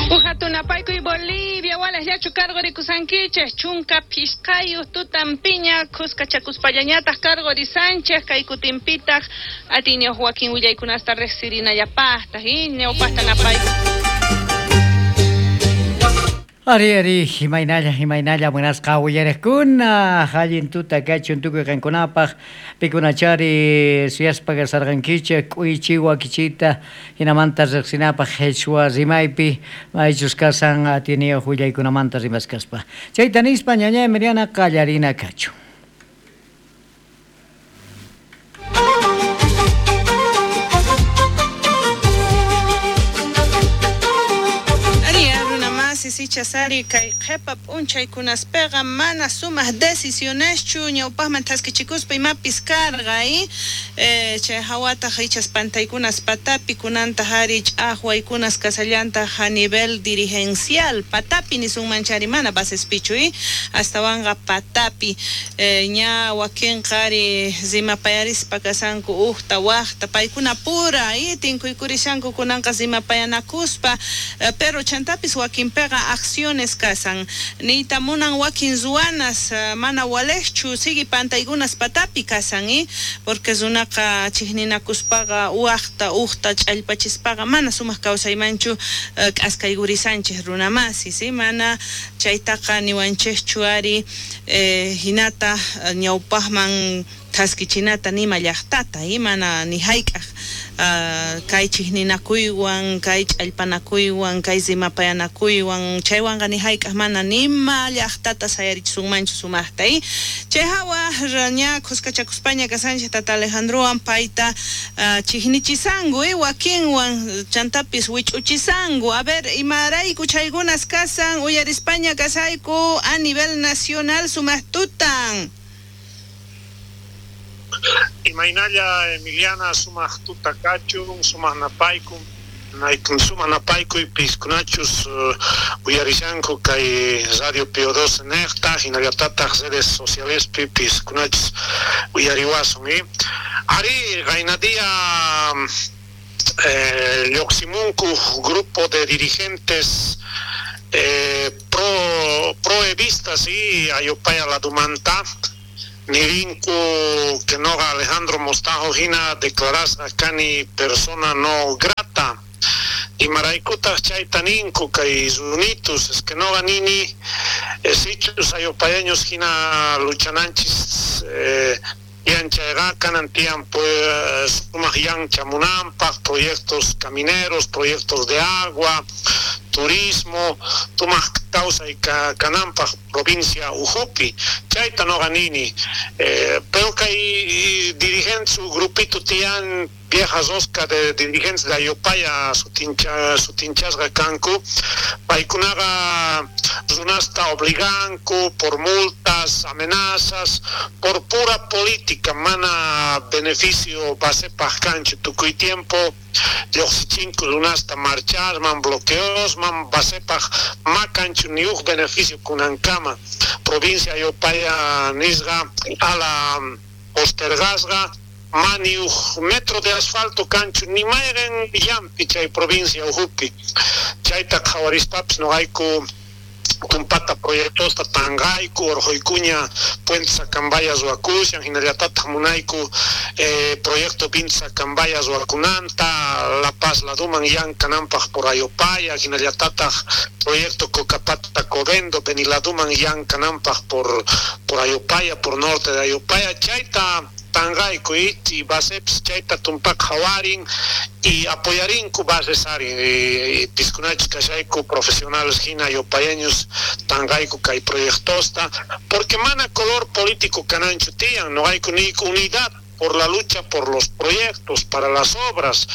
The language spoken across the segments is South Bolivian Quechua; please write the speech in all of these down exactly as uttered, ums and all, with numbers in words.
Ujatunapaykuy Bolivia, walajllachu cargorikusankichej, chunka pishqayuq tutampiña, khuskachakuspallañataq cargorisanchej, kay kutinpitaq atiyniyuq wakin willaykunasta riqsirinallapaqtaq, ñawpaqta napayku. Ari, ari, imaynalla, imaynalla, munasqa uyariqkuna, allin tuta kachun tukuy qankunapaq, pikunachari suyaspa kasarqankichik, k'uychi wakichita, hinamanta riqsinapaq qhichwa rimaypi, maychus kasan atiyniyuq willaykunamanta rimaskaspa. Chayta nispa ñañay Miriana qallarina kachun. Sichasari kay qhepa p'unchaykunaspeqa mana sumaq decisioneschu ñawpaqman thaskichikuspa imapis karqa y eh, chay hawataq ichas pantaykunas patapi kunantaq ari ch'aqwaykunas kasallantaq a nivel dirigencial patapi nisunmanchari mana basespichu y astawanqa patapi eh, ña wakinqa ari rimapayarispa kasanku uqta waqta paykuna pura y tinkuykurishanku kunanqa rimapayanakuspa eh, pero chantapis wakinpeqa acciones kasan niyta munan wakin ruwanas mana walejchu sigui pantaykunas patapi kasan y porque runaqa chiqninakuspaqa waqta uqta ch'allpachispaqa mana sumaq kawsaymanchu k'askaykurisanchej runamasi si mana chaytaqa niwanchejchu ari eh, hinata ñawpaqman thaskichinata nima llaqtata y mana ni hayk'aq uh, kay chiqninakuywan kay ch'allpanakuywan kay rimapayanakuywan chaywanqa ni hayk'aq mana nima llaqtata sayarichisunmanchu sumaqta y chay hawa ña khuskachakuspaña kasanchej tata Alejandrowan payta uh, chiqnichisanku y wakinwan chantapis wich'uchisanku. A ver, imarayku chaykunas kasan uyarispaña kasayku a nivel nacional sumaq tutan. Imaynalla Emiliana sumaq tuta kachun, sumaq napayku, naykun sumaq napaykuy piskunachus uh, uyarishanku kay Radio Pío doce nejta, hinallatataq redes socialespi piskunachus uyariwasun y ari qaynadia eh, lluqsimunku grupo de dirigentes eh, pro proevistas y ayopaya ladumanta nirinku que noga Alejandro Mostajo hina declarasqa kani persona no grata imaraykutaq chayta ninku kay runitus es que noga nini sichus ayopayaños hina luchananchis eh, yanchayqa kanan tiyan pues sumaq yanchamunanpaq proyectos camineros, proyectos de agua, turismo, tumaq kawsay kananpaq provincia ujupi chayta noqa nini eh, pero kay dirigentes su grupito tiyan vieja rosca de dirigentes de Ayopaya sutincha sutinchasqa kanku paykunaqa runasta obliganku por multas, amenazas, por pura política mana beneficio basepaq kanchu tukuy tiempo lluqsichinku runasta marchasman bloqueosman basepaq makanchu ni uj beneficio kunankama provincia Ayopaya nisqa ala postergasqa mani uj metro de asfalto kanchu ni mayqen llampi chay provincia ujupi chayta qhawarispapis noqayku tumpata proyectosta tanqayku urquykuña Puente Sacambaya ruwakushan hinallatataq munayku eh, proyecto Vinta Sacambaya ruwakunanta La Paz laduman llankananpaq por Ayopaya hinallatataq proyecto Cocapata Covendo Beniladuman llankananpaq por por Ayopaya por norte de Ayopaya chayta tanqayku y basepis chayta tumpak qhawarin y apoyarinku bases ari piskunachus kashayku profesionales hina ayopayaños tanqayku kay proyectosta porque mana color político kananchu tiyan noqayku niyku unidad por la lucha por los proyectos para las obras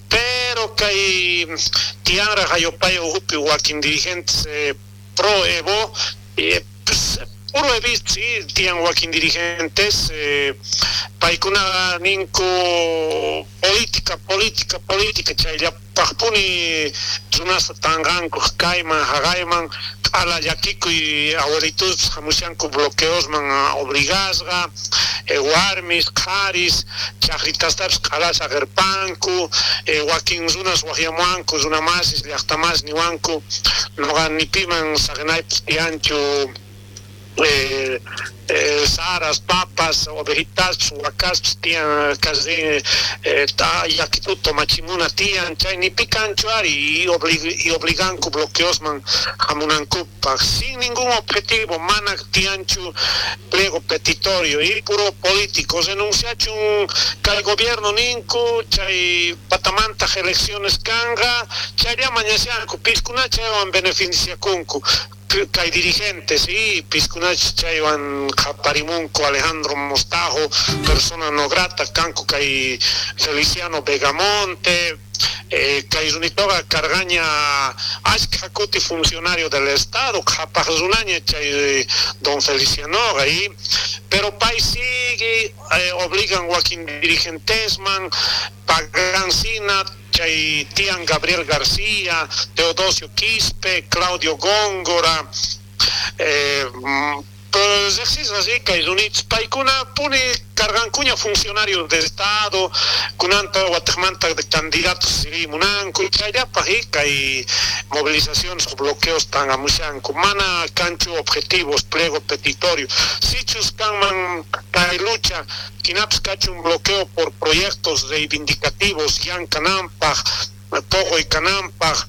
pero kay tiyanraq Ayopaya ujupi wakin dirigentes eh, pro Evo eh, pues, puro evist, sí, tiyan wakin dirigentes eh, paykuna ninku política, política, política chaylla Chaypaqpuni runasta tanqanku kayman haqayman q'ala llakikuy abuelitos hamushanku bloqueosman obligasqa eh, warmis qharis chaqritastapis q'ala saqirpanku eh, wakin runas waqyamuanku runamasis llaqtamas niwanku noqa nipiman saqinaypis tiyanchu eh, eh, saras, papas, ovejitas, huacas, tian, casi, eh, ta, yakituto, machimuna, tian, chay, ni picancho ari, y, oblig, y obliganku bloqueosman, hamunankupa, sin ningún objetivo, mana tianchu, pliego petitorio, y puro político, denunciachun, que el gobierno ninku, chay, patamanta elecciones kanga, chay, mañasianku, piskuna chaywan beneficiakunku, que hay dirigentes y piskunach chaywan qhaparimunku Alejandro Mostajo, persona no grata, kanku kay Feliciano Vegamonte, eh, kay runitoqa karqaña ashkha kuti funcionario del Estado, qhapaq runaña chay don Felicianoqa y pero pay sigue eh, obligan wakin dirigentesman pagan sina chay tian Gabriel García, Teodosio Quispe, Claudio Góngora, eh, pues existe así que hay units paikuna pone cargancuña funcionarios de Estado, kunanta guatemanta de candidatos munanku, chayapa y movilizaciones o bloqueos tan amushanku, mana cancho objetivos, pliego petitorio, sichus kanman kay lucha, kinaps cacho un bloqueo por proyectos reivindicativos, yan kanampaj, pogo y kanampaj,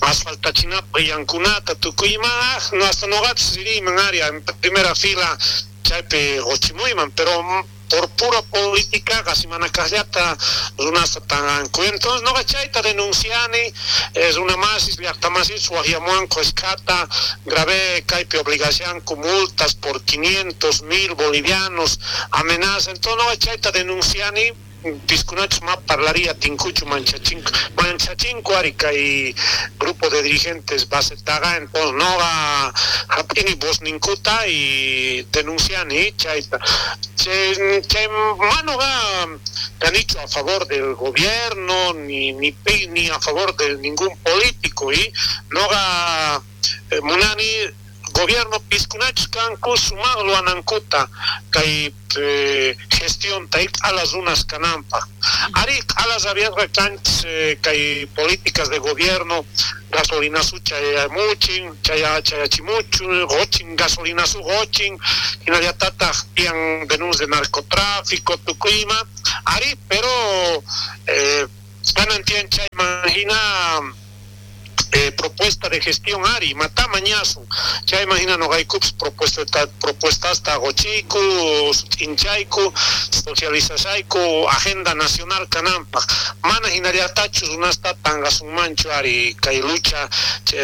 asfaltachinapa y yankunata, tukuyma, no hasta noqapis riyman área en primera fila chaypi qochimuyman, pero por pura política casi manakaqllata runasta tanqanku. Entonces noqa chayta denunciani, es una masis llaqtamasis waqyamuanku ashkhata, grave kaypi obligacianku multas por quinientos mil bolivianos, amenaza. Entonces noqa chayta denunciani, piskunachus ma parlaría tinkuchu manchachinko manchachinko ari kay grupo de dirigentes basetaga. Entonces noqa hap'ini vozninkuta y denunciani chayta chay chay manoqa kanichu a favor del gobierno ni ni ni a favor de ningún político y noqa eh, munani gobierno piskunachus kanku sumaqlu anankuta kay eh, gestión ta q'alas runas kananpaq ari q'alas abiasqa kanchis eh, kay políticas de gobierno gasolinasu chayamuchin chaya chayachimuchu gochin gasolinasu gochin hinallatataq tiyan denuncias de narcotráfico tukuyma ari pero eh, kanan tiyan chayman hina Eh, propuesta de gestión ari mata mañasun chay imagina noqaykupas propuesta propuestasta qochiyku inchayku socializashayku agenda nacional kananpaq mana hinallatachu runasta tanqasunmanchu ari kay lucha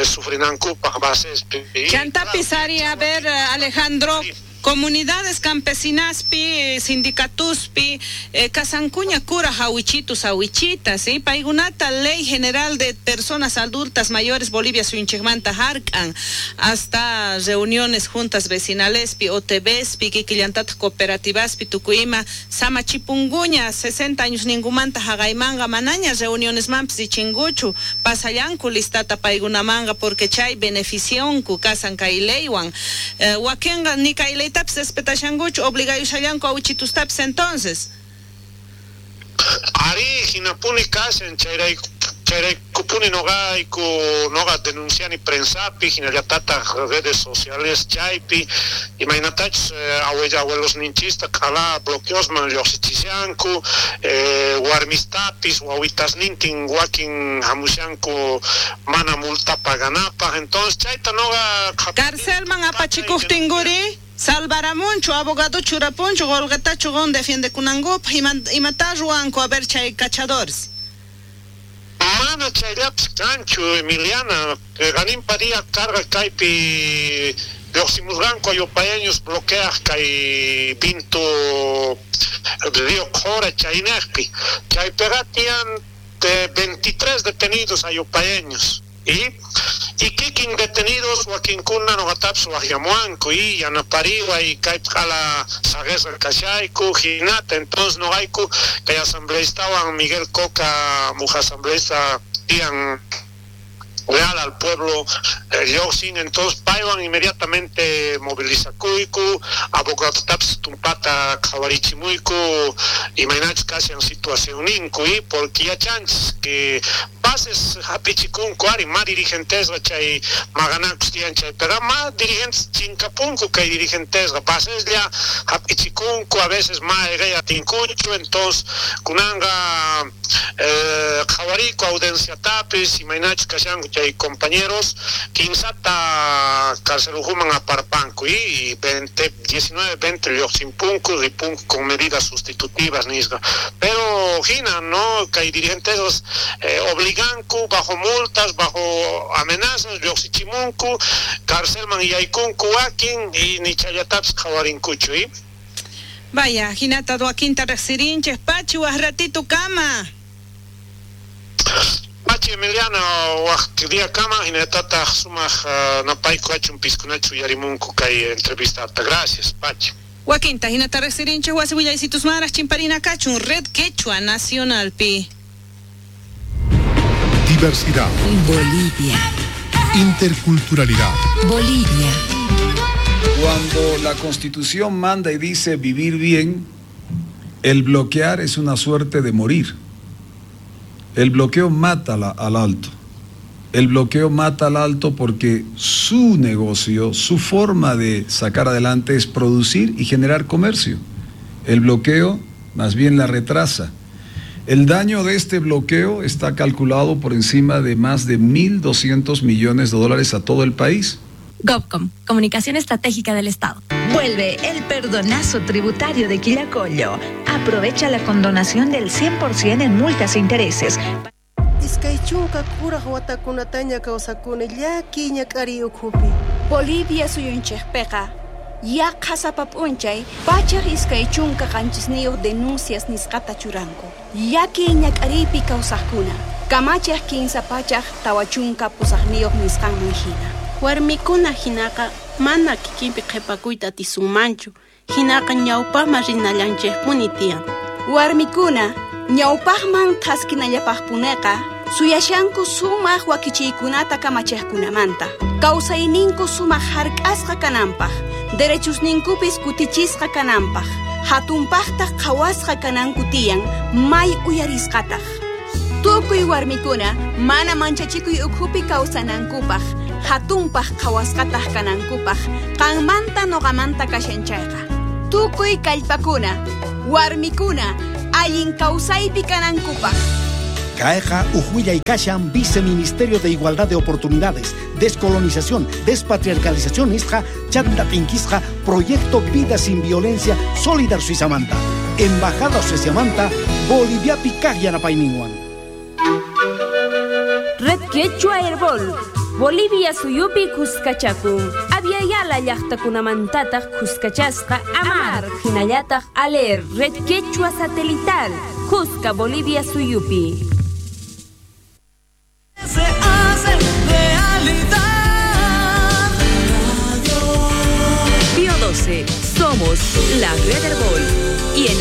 sufrinankupaq basespi. Chantapis ari, a ver Alejandro, sí. Comunidades campesinaspi, sindicatuspi, eh, kasankuña cura jawichitus awichitas, ¿sí? Paykunata Ley General de Personas Adultas Mayores Bolivia suyunchikmanta hark'an, hasta reuniones juntas vecinalespi, O T Bspi, kikillantataq cooperativaspi, tukuyima, samachipunguña, sesenta años ningumanta haqaymanqa manaña reunionesmanpis richinkuchu, pasallanku listata paykunamanqa porque chay beneficionku kasan kay leywan. Eh, wakinqa ni kay ley tapis respetashankuchu, obligayushallanku awichitustapis entonces. Ari hinapuni kashan chayrayku chayraykupuni noqayku noqa denunciani prensapi hinallatataq redes sociales chaypi imaynatachus eh, abuelos ninchista q'ala bloqueosman lluqsichishanku eh, warmistapis wawitasnintin wakin hamushanku mana multa paganapaq. Entonces chayta noqa carcelman apachikuqtinkuri salvaramunchu abogado churapunchu qolqetachu qon defiendekunankupaq imata ruwanku a ver chay cachadores. Mana chayllapis kanchu Emiliana, qaninpa día carga kaypi lluqsimusqanku ayupayaños bloqueaq kay Vinto Río Qhora chaynaqpi chaypiqa tiyan veintitrés detenidos ayupayaños y y kikin detenidos wakinkuna noqatapis waqyamuanku y yanapariwa y kaypi q'ala saqesqa kashayku hinata. Entonces noqayku kay asambleistawan Miguel Coca muj asambleista tian leal al pueblo eh, entonces paywan inmediatamente movilizakuyku, abogadotapis tumpata qhawarichimuyku imaynachus kashan situacionninku y porque yachanchis que bases hap'ichikunku ari ma dirigentesqa chay maqanakus tiyan chaypiqa ma dirigentes chinkapunku kay dirigentesqa baseslla hap'ichikunku a veces ma ayqey atinkuchu entonces kunanqa eh, qhawariku audienciatapis imaynachus kashanku chay compañeros kinsata carcelujuman aparpanku y veinte, diecinueve, veinte lluqsinpunku ripunku con medidas sustitutivas nisqa pero hina no kay dirigentes eh, obliganku bajo multas bajo amenazas lluqsichimunku carcelman yaykunku wakin y nichallatapis qhawarinkuchu y Vaya, hinata wakinta riqsirinchej pachi waj ratito kama. Pachi Emiliano waj día kama hinatataq sumaq uh, napayku achun piskunachu yarimunku kay entrevista. Gracias, Pachi. Wakinta hinata riqsirinchej wasi willaysitusmaraj chimparina kachun Red Quechua Nacionalpi. Diversidad. Bolivia. Interculturalidad. Bolivia. Cuando la Constitución manda y dice vivir bien, el bloquear es una suerte de morir. El bloqueo mata la, al alto. El bloqueo mata al alto porque su negocio, su forma de sacar adelante es producir y generar comercio. El bloqueo más bien la retrasa. El daño de este bloqueo está calculado por encima de más de mil doscientos millones de dólares a todo el país. GovCom, Comunicación Estratégica del Estado. Vuelve el perdonazo tributario de Quillacollo. Aprovecha la condonación del cien por ciento en multas e intereses. Bolivia suyunchejpeqa yaqha sapa p'unchay pachaj iskay chunka qanchisniyuq denuncias nisqata churanku. Llaki ñak'ariypi kawsaqkuna kamachaj kinsa pachaj tawa chunka pusaqniyuq nisqanman hina. Warmikuna hinaqa mana kikinpi qhipakuyta atisunmanchu, hinaqa ñawpaqman rinallanchikpuni tiyan. Warmikuna ñawpaqman thaskinallapaqpuneqa suyashanku sumaq wakichiykunata kamachiqkunamanta. Kawsayninku sumaq hark'asqa kananpaq, derechusninkupis kutichisqa kananpaq, hatunpaqtaq qhawasqa kananku tiyan, may uyarisqataq. Tukuy warmikuna mana manchachikuy ukhupi kawsanankupaq, hatunpaq qhawasqataq kanankupaq, qanmanta noqamanta kashan chayqa. Tukuy kallpakuna, warmikuna, allin kawsaypi kanankupaq. Caeja, Ujuilla y Kashan, Viceministerio de Igualdad de Oportunidades, Descolonización, Despatriarcalización, Isja, Chanta Tinquisja, Proyecto Vida Sin Violencia, Solidar Suizamanta, Embajada Suizamanta, Bolivia Picaj Yanapayninwan. Red Quechua Herbol, Bolivia suyupi Cuscachakun, Aviala llaqtakunamantataq Cuscachasqa Amar, hinallataq Aler, Red Quechua Satelital, Cusca, Bolivia suyupi. Se hace realidad. Pío doce, somos la Red Herbol y en